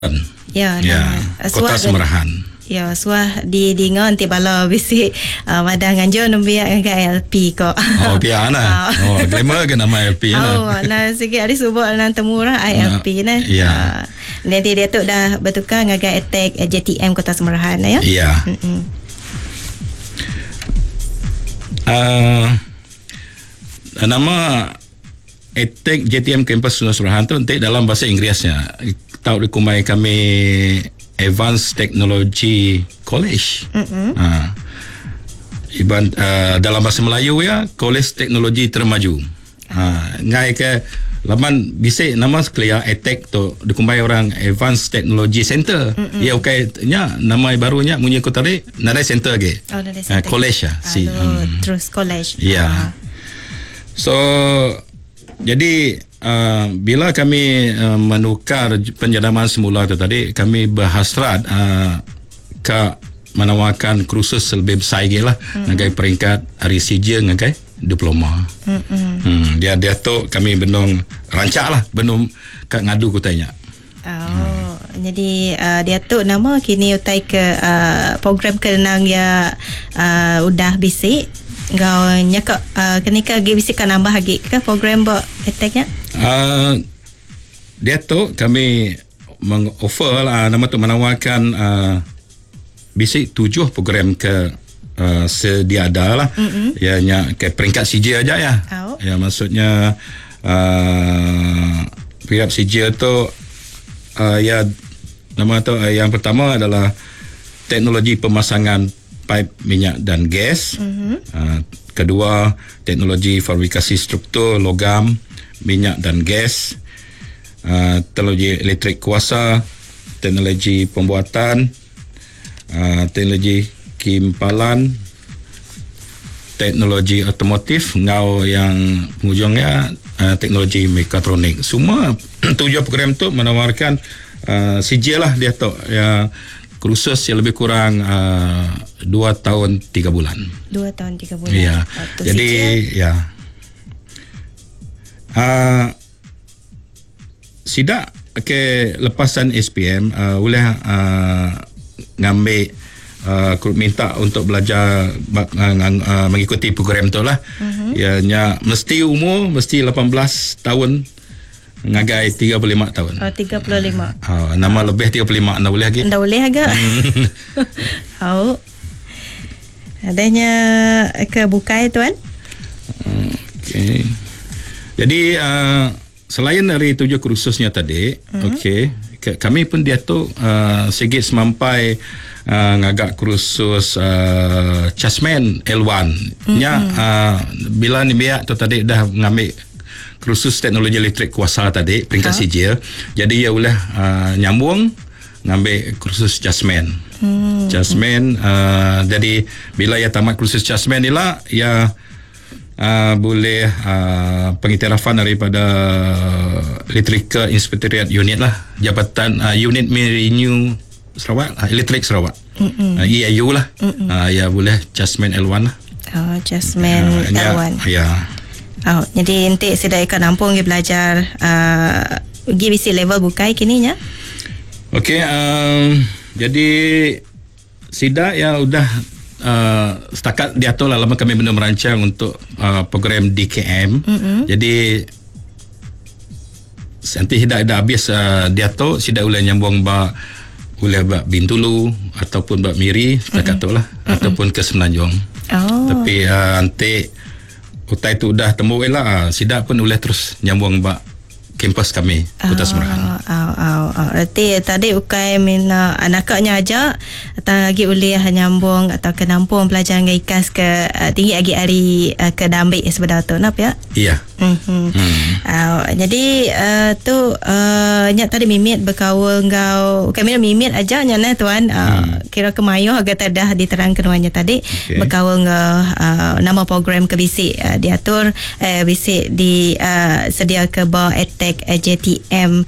Ya, Ya, nama. Kota Suah Semerahan. Ya, suah di dinga enti bala bisi madah nganjur nembiak ngagai LP ko. Oh, pia nah. Oh, glamour ke nama LP nah. Oh, nah sigi ari suba nang temu orang ILP nah. Ya. Nanti dia tu dah bertukar ngagai attack JTM Kota Semerahan ya. Ya. Nama Attack JTM Campus Kota Semerahan tu enti dalam bahasa Inggerisnya tau dikumbai kami Advanced Technology College. Ha. Iban dalam bahasa Melayu ya College Teknologi Termaju. Ha, ngai ke laban bisi nama sekelia Attack tu dikumbai orang Advanced Technology Center. Ya ukai nya nama baru nya munyi ku tadi nadai center agi. Oh, nadai Ha, center. college lah si. Aduh, terus college. Ya. Ah. So jadi bila kami menukar penjenamaan semula tu tadi kami berhasrat ke menawarkan kursus lebih besar lagi lah ngagai peringkat hari sijil ngagai diploma. Dia dia tu kami benung rancak lah benung kat ngadu kutainya. Oh, jadi dia tu nama kini utai ke program ke nang ya udah bisi ngau nya ke kini ke agi bisi ka nambah agi ke program ba attack nya? Dia tu kami mengoffer lah nama tu menawarkan bisi 7 program ke sedia ada lah. Ya nya ke peringkat sijil aja ya. Oh. Ya maksudnya peringkat sijil tu ya nama tu yang pertama adalah teknologi pemasangan paip minyak dan gas. Kedua, teknologi fabrikasi struktur logam, minyak dan gas. Teknologi elektrik kuasa, teknologi pembuatan, teknologi kimpalan, teknologi otomotif, ngau yang penghujungnya teknologi mekatronik. Semua 7 program tu menawarkan sijil lah dia tu ya kursus yang lebih kurang 2 tahun 3 bulan. 2 tahun 3 bulan. Ya. Waktu Jadi sijil. ya. Sidak ke lepasan SPM boleh ngambil minta untuk belajar mengikuti program tu lah. Ya nya mesti umur mesti 18 tahun ngagai 35 tahun. Oh, 35. Nama lebih 35 ndak boleh lagi. Ndak boleh agak. Oh. Adanya ke bukai tuan? Okey. Jadi selain dari 7 kursusnya tadi, okey, kami pun dia tu sikit semampai ngagak kursus Chasman L1. Nya bila ni biak tu tadi dah ngambil kursus teknologi elektrik kuasa tadi peringkat sijil. Jadi ia boleh nyambung ngambil kursus Chasman. Chasman jadi bila ia tamat kursus Chasman ni lah ia boleh pengiktirafan daripada Electrical Inspectorate Unit lah, jabatan unit Renew Sarawak, Elektrik Sarawak. EIU lah. Ia boleh Chasman L1 lah. Oh, Chasman L1. Ya. Oh, jadi nanti sudah ikan nampung dia belajar GBC level bukai kini nya. Okey, jadi sidak yang udah setakat diatur lah lama kami belum merancang untuk program DKM. Jadi nanti sidak dah habis diatur, sidak boleh nyambung ba boleh ba Bintulu ataupun ba Miri setakat tu lah, ataupun ke Semenanjung. Tapi nanti utai tu dah temu lah, sidak pun boleh terus nyambung ba kampus kami Kota Semerahan. Reti tadi ukai mina anaknya aja atau lagi boleh nyambung atau ke nampung pelajaran ke ikas ke tinggi lagi hari ke dambik sebenar tu nap ya? Iya. Jadi tu nyak tadi mimit berkaul ngau kami mimit aja nya nah tuan kira kemayoh agak dah diterang keduanya tadi. Berkaul ngau nama program ke bisik diatur bisik di sedia ke ba attack JTM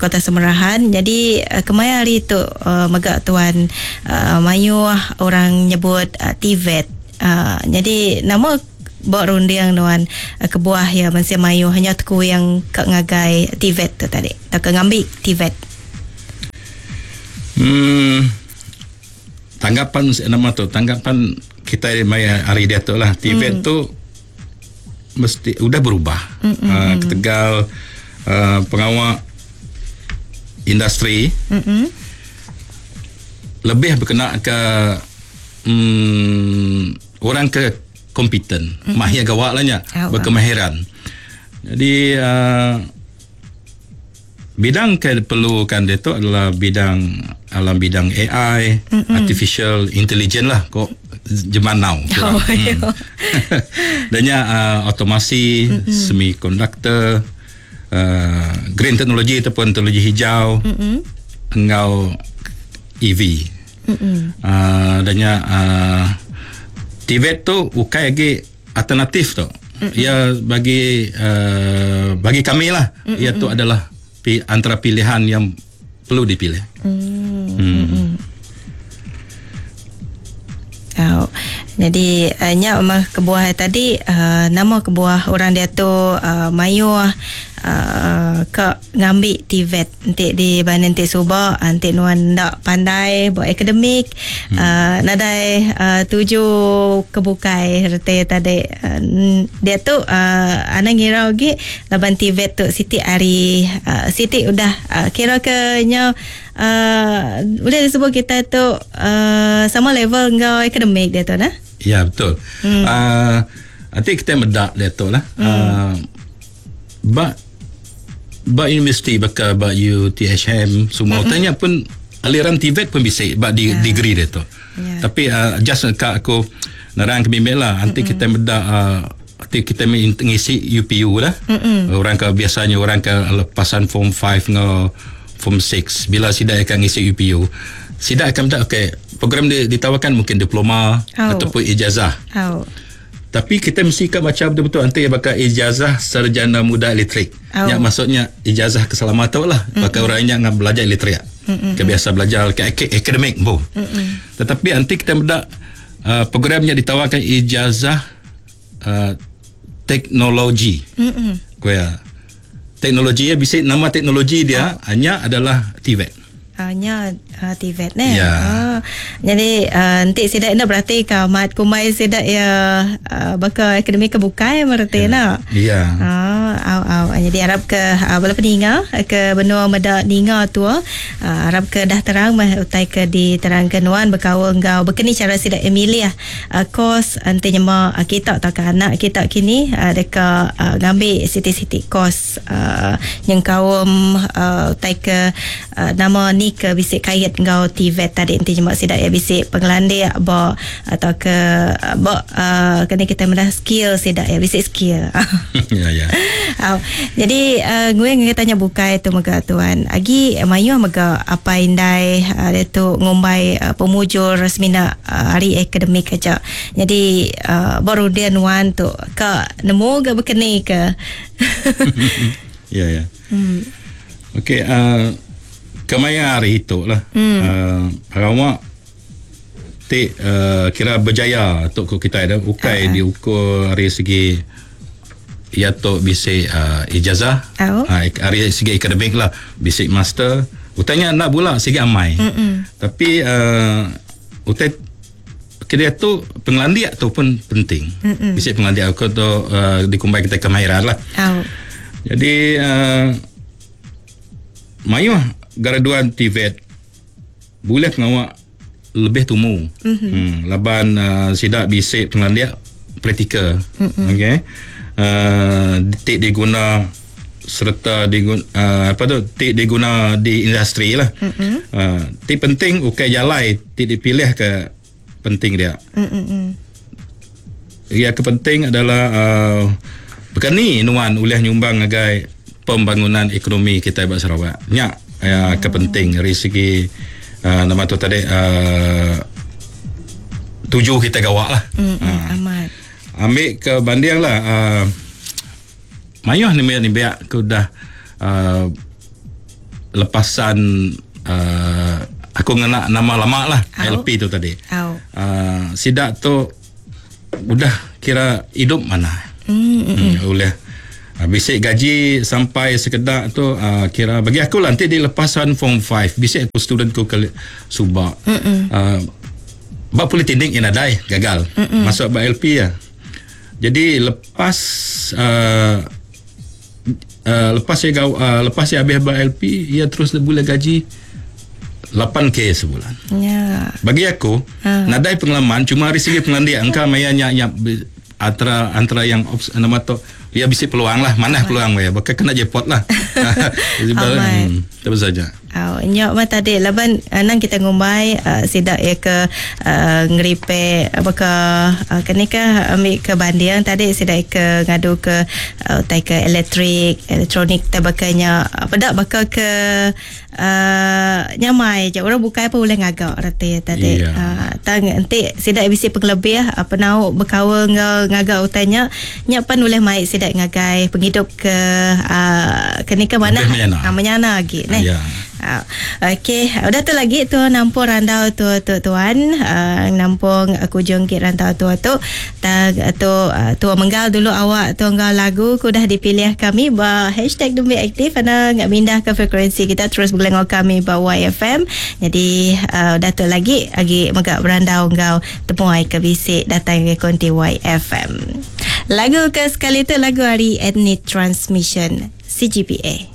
Kota Semerahan. Jadi kemaya hari tu megak tuan mayuh orang nyebut TVET. Jadi nama buat rundiang tuan kebuah ya masih mayuh hanya teku yang kat ngagai TVET tu tadi. Tak ke ngambil TVET. Hmm. Tanggapan nama tu, tanggapan kita maya hari dia tu lah. TVET tu mesti udah berubah. Ketegal pengawal industri lebih berkena ke orang ke kompeten, mahir gawak lah nya, berkemahiran. Jadi bidang ke perlukan dia tu adalah bidang alam bidang AI, artificial intelligence lah kok zaman now. Oh, Dannya otomasi, semiconductor, green technology ataupun teknologi hijau, engau EV. Dannya TVET tu ukai lagi alternatif tu. Ya bagi bagi kami lah, ia tu adalah antara pilihan yang perlu dipilih. Oh, jadi nya mah kebuah tadi nama kebuah orang dia tu mayuh ke ngambil TVET nanti di banding nanti subak nanti nuan ndak pandai buat akademik nadai tuju kebukai reti tadi dia tu ana ngira lagi laban TVET tu Siti ari Siti udah kira ke nya boleh disebut kita tu sama level ngau akademik dia tu nah. Ya betul. Nanti kita medak dia tu lah. Ba universiti baka ba UTHM semua tanya pun aliran TVET pun bisa ba di degree dia tu. Tapi just kat aku nerang ke bimbing lah nanti kita medak nanti kita ngisi UPU lah. Orang ke biasanya orang ke lepasan form 5 ngau form 6 bila sida akan ngisi UPU sida akan minta okey program dia ditawarkan mungkin diploma ataupun ijazah. Tapi kita mesti kan baca betul-betul nanti bakal ijazah sarjana muda elektrik. Yang maksudnya ijazah keselamatan lah. Bakal orang yang belajar elektrik. Kebiasa belajar ke akademik pun. Tetapi nanti kita mendak programnya ditawarkan ijazah teknologi. Kuya. Teknologi ya bisa nama teknologi dia hanya adalah TVET. Hanya TVET ne. Ya. Jadi nanti sidak nak berarti ka mat kumai sidak ya bakal akademik kebukai berarti nak. Ya. Au. Jadi harap ke bala peninga ke benua meda ninga tu harap ke dah terang mah utai ke diterangkan wan berkaul enggau bekeni cara sidak Emilia kos nanti nyema kita atau ke anak kita kini deka ngambil siti-siti kos yang kaum utai ke nama ni ke bisik kait enggau TVET tadi nanti nyema sidak ya bisik pengelandik ba atau ke ba kena kita mendah skill sidak ya bisik skill. Ya. Jadi gue ngeh tanya bukai tu mega tuan. Agi mayu mega apa indai dia tu ngumbai pemujur semina hari akademik aja. Jadi baru dia nuan tu ke nemu ke bekeni ke. Ya. Okey, kemaya hari itu lah. Sarawak ti kira berjaya untuk kita ada ukai diukur dari segi ia tu bisa ijazah hari segi akademik lah bisik master utanya nak pula segi amai. Tapi utai kira tu pengelandiak tu pun penting. Bisik pengelandiak aku tu dikumbai kita kemahiran lah. Jadi mayuh graduan TVET boleh pengawak lebih tumu. Laban sidak bisik pengelandiak praktikal. Okey. Tik diguna serta diguna apa tu tik diguna di industri lah. Tik penting ukai jalai tik dipilih ke penting dia. Yang kepenting adalah bekani nuan ulih nyumbang agai pembangunan ekonomi kita di Sarawak. Nya kepenting dari segi nama tu tadi tuju kita gawak lah. Amat. Ambil ke banding lah mayuh ni biak ke dah lepasan aku ngena nama lama lah LP tu tadi. Sidak tu udah kira hidup mana. Oleh Bisi gaji sampai sekedak tu kira bagi aku lah nanti di lepasan form 5 bisi aku student ku ke suba. Ba politeknik yang nadai gagal. Masuk ba LP ya. Jadi lepas lepas saya gau, lepas saya habis ba LP ia terus boleh gaji 8k sebulan. Ya. Bagi aku nadai pengalaman cuma dari segi pengelandik engkau maya nya nya antara antara yang nama tu ya bisi peluang lah mana peluang ya bakal kena jackpot lah. Terus saja. Oh, nyok mah tadi laban nang kita ngumbai sidak ya ke ngeripe baka kini ke ambil ke banding tadi sidak ke ngadu ke tai ke elektrik elektronik tabakanya pedak baka ke nyamai je orang bukai pun boleh ngagak reti tadi. Yeah. Tang nanti sidak bisi pengelebih apa nau berkawan ngau ngagak utanya nyak pan boleh mai sidak ngagai penghidup ke kini ke mana menyana lagi neh. Yeah. Okey, udah tu lagi tu nampung randau tu tu tuan, nampung aku jongkit randau tu tu tag tu tu menggal dulu awak tu nggal lagu ku dah dipilih kami ba hashtag Dumbi Aktif ana ngak mindah ke frekuensi kita terus boleh ngau kami ba YFM. Jadi udah tu lagi agi megak berandau ngau temuai ke bisik datang ke konti YFM. Lagu ke sekali tu lagu hari Ethnic Transmission CGPA.